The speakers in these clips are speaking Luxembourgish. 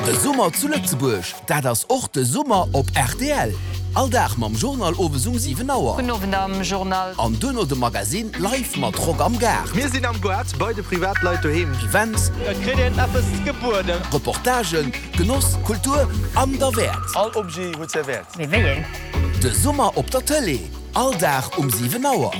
De Summer zu Lëtzebuerg, dat ass och de Summer op rtl. All Dag mam Journal owes um 7 Auer. Gudden Owend am Journal. An duerno de Magazine live mat Rock am Gaart. Mir sinn am Goart bei de Privatleit doheem. Events. Et kritt een eppes gebueden. Reportagen, Genoss, Kultur an derwäert. All Objet huet säi Wäert. Mee wéi een? De Summer op der Tëlee, all Dag um 7 Auer.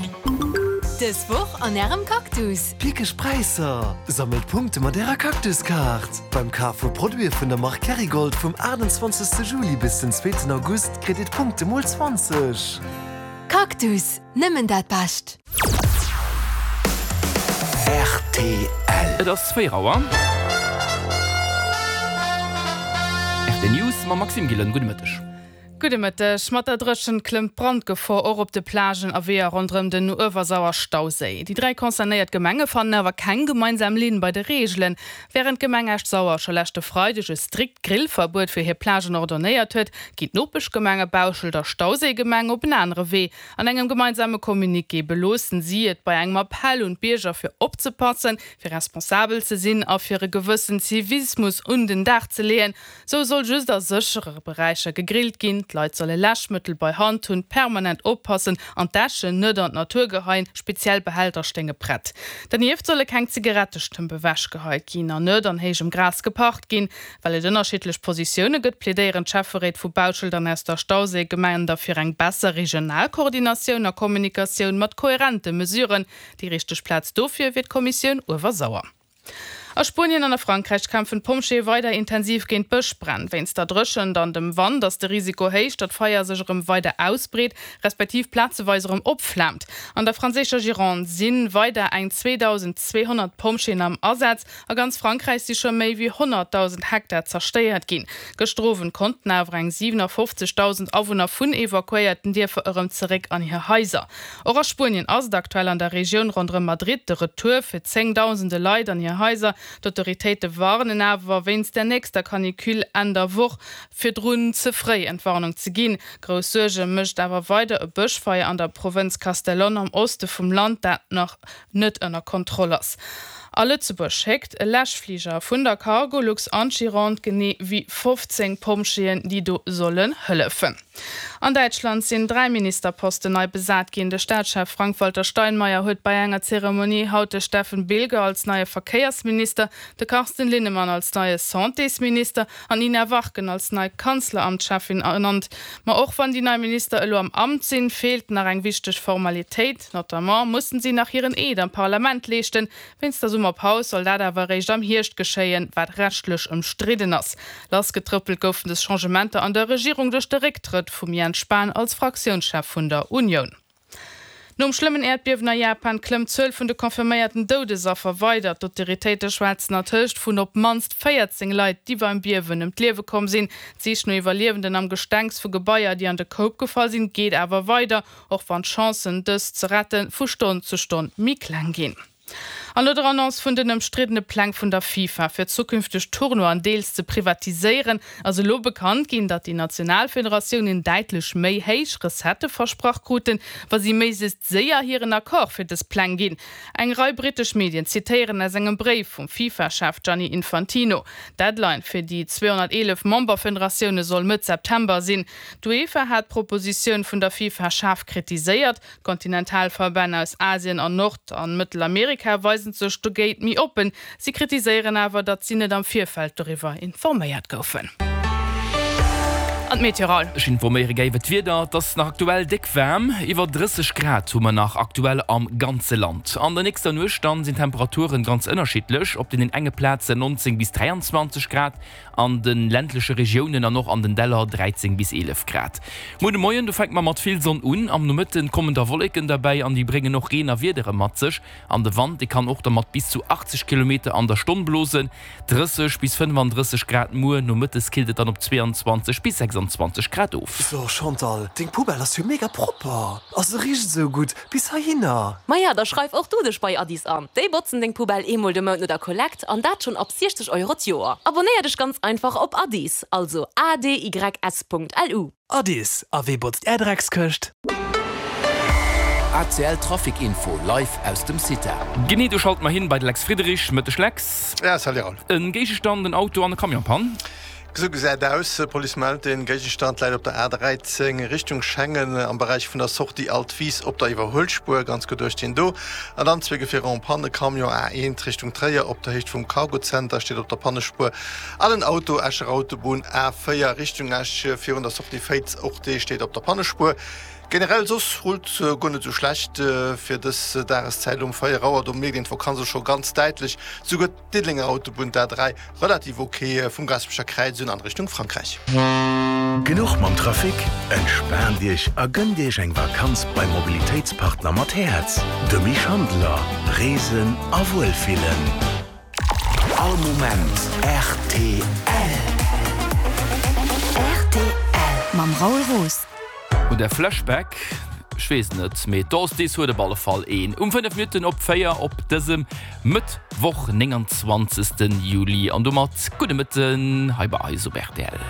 Dës Woch an Ärem Cactus. Pickeg Präisser! Sammelt Punkte mat Ärer Cactus-Kaart! Beim Kaf vu Produite vun der Mark Kerrygold vum 28 Juli bis den zweeten August kritt Dir d'Punkte mol 20. Cactus, nëmmen dat Bescht! Rtl. Et ass 4 Auer. Rtl News mam Maxime Gillen. Gudde Mëtteg. Gudde Mëtteg. Mat der Dréchent klëmmt d'Brandgefor och op de Plagen a Weeër ronderëm den Uewersauer Stauséi. Déi 3 concernéiert Gemenge fannen awer keng gemeinsam Linn bei de Reegelen. Wärend d'Gemeng Esch-Sauer scho leschte Freideg e strikt Grillverbuet fir hir Plagen ordonnéiert huet, ginn d'Nopeschgemenge Bauschelt a Stauséigemeng op en anere Wee. An engem gemeinsame Communiqué beloossen si et bei engem Appell un d'Bierger fir opzepassen, fir responsabel ze sinn a fir e gewëssen Zivismus un den Dag ze leeën. Sou soll just a séchere Beräicher gegrillt ginn, d'Leit solle Läschmëttel bei Hand hunn, permanent oppassen an d'Äschen net an d'Natur geheien, speziell Behälter stéinge prett. Dernieft solle keng Zigarettestëmp ewechgeheit ginn an net an héijem Gras geparkt ginn. Well et ënnerschiddlech Positioune gëtt, plädéieren d'Schäfferéit vu Bauschelt an aus der Stauséigemeng da fir eng besser regional Koordinatioun a Kommunikatioun mat koherente Mesuren. Déi richteg Plaz dofir wier d'Kommissioun Uewersauer. A Spuenien an a Frankräich kämpfen d'Pompjeeë weider intensiv géint d'Bëschbränn. Wéinst der Dréchent an dem Wand ass de Risiko héich, datt d'Feier sech erëm weider ausbreet, respektiv plazeweis erëm opflaamt. An der franséischer Gironde si weider eng 2.200 Pompjeeën am Asaz. A ganz Frankräich si scho méi wéi 100.000 Hektar zerstéiert ginn. Gëschter Owend konnten awer eng 57.000 Awunner vun evakuéierten Dierfer erëm zeréck an hir Haiser. Och a Spuenien ass et aktuell an der Regioun ronderëm Madrid de Retour fir zéngdausende Leit an hir Haiser. D'Autoritéite warnen awer wéinst der nächster Canicule Enn der Woch virdrun ze fréi Entwarnung ze ginn. Grouss Suerge mécht awer weider e Bëschfeier an der Provënz Castellón am Oste vum Land, dat nach net ënner Kontroll ass. A Lëtzebuerg schéckt e Läschfliger vun der Cargolux an d'Gironde genee wéi 15 Pompjeeën, déi do sollen hëllefen. An Däitschland sinn 3 Ministerposten nei besat ginn. De Staatschef Frank-Walter Steinmeier huet bei enger Zeremonie haut de Steffen Bilger als neie Verkéiersminister, de Carsten Linnemann als neie Santésminister an d'Nina Warken als nei Kanzleramtscheffin ernannt. Ma och wann déi nei Minister elo am Amt sinn, feelt nach eng wichteg Formalitéit. Notamment mussen si nach hiren Eed am Parlament leeschten. Wéinst der Summerpaus soll dat awer eréischt am Hierscht geschéien, wat rechtlech ëmstridden ass. Lassgetrëppelt goufen dës Changementer an der Regierung duerch de Récktrëtt vum Jens Spahn als Fraktiounschef vun der Unioun. Nom schlëmmen Äerdbiewen a Japan klëmmt d'Zuel vun de confirméierten Doudesaffer weider. D'Autoritéite schwätzen ertëscht vun op d'mannst 14 Leit, déi beim Biewen ëm d'Liewe komm sinn. D'Sich no Iwwerliewenden am Gestengs vu Gebaier, déi an de Koup gefall sinn, geet awer weider. Och wann d'Chancen, dës ze retten, vu Stonn zu Stonn méi kleng ginn. An no der Annonce vun den ëmstriddene Pläng vun der FIFA, fir zukünfteg Tournoien deels ze privatiséieren, ass elo bekannt ginn, datt déi national Federatiounen däitlech méi héich Recettë versprach kruten, wa si méiglechst séier hiren Accord fir dës Pläng ginn. Eng Rei brittesch Medien zitéieren aus engem Bréif vum FIFA-Chef Gianni Infantino. D'Deadline fir déi 211 Memberfederatioune soll Mëtt September sinn. D'UEFA hat d'Propositioun vun der FIFA schaarf kritiséiert. D'Kontinentalverbänn aus Asien an Nord an Mëttelamerika weisen sech dogéint méi oppen. Si kritiséieren awer, datt si net am Virfeld doriwwer informéiert goufen. An d'Meteo Raoul. Ech informéiere gär iwwer d'Wieder. Et ass nach aktuell déck waarm, iwwer 30 Grad hu mer nach aktuell am ganze Land. An der nächster Nuecht dann sinn d'Temperaturen ganz ënnerschiddlech, op deenen enge Plazen 19 bis 23 Grad, An de ländleche Regiounen an och an den Däller 13 bis 11 Grad. Muer de Moien, do fänke mer mat vill Sonn un. Am Nomëtten kommen da Wolleken derbäi an déi bréngen och Reen a Wiedere mat sech. An de Wand, dee kann och da mat bis zu 80 Kilometer an der Stonn blosen. 30 bis 35 Grad muer, nomëttes killt et dann op 22 bis 26 Grad of. So Chantal, deng Poubelle ass jo mega propper a se richt esou gutt bis heihinner. Maja, da schreif och du dech bei Addis an. Déi botzen deng Poubelle eemol de Mount no der Kollekt an dat schonn ab 60 Euro d'Joer. Abonéier dech ganz einfach op Addis, also adys.lu. Addis, a wee botzt är Dreckskëscht? ACL Trafic Info live aus dem CITA. Genee, do schalte mer hin bei de Lex Friedrich. Mëtteg Lex. Ja, salut Raoul. En Géigestand, en Auto an e Camion-Pann. Esou gesäit aus, Police mellt, den Géigestand läit op der A13 Richtung Schengen am Beräich vun der Sortie Altwis op der Iwwerhuelspuer, ganz geduecht hien do. An dann zwee Gefierer en panne, Camion A1 Richtung Tréier op der Héicht vum Cargozenter steet op der Pannespuer an en Auto Escher Autobunn A4 Richtung Esch virun der Sortie Féiz, och dee steet op der Pannespuer. Generell soss rullt guer net esou schlecht fir dës Dageszäit um 4 Auer, do mierkt een d'Vakanz och scho ganz däitlech. Souguer D'Diddelenger Autobunn, d'A3, relativ ok vum Gaasperecher Kräiz un an Richtung Frankräich. Genuch mam Trafic? Entspaant Iech a gënnt Iech eng Vakanz beim Mobilitéitspartner mat Häerz, dem Schandeler. Reesen a Wuelfillen. All Moment rtl. Rtl mam Raoul Roos. Huet der Flashback? Ech weess et net, mee d'Ostis huet op alle Fall een. Um 5 Minutten op 4 op dësem Mëttwoch, 29. Juli. An domat gudde Mëtten hei bei eis op rtl.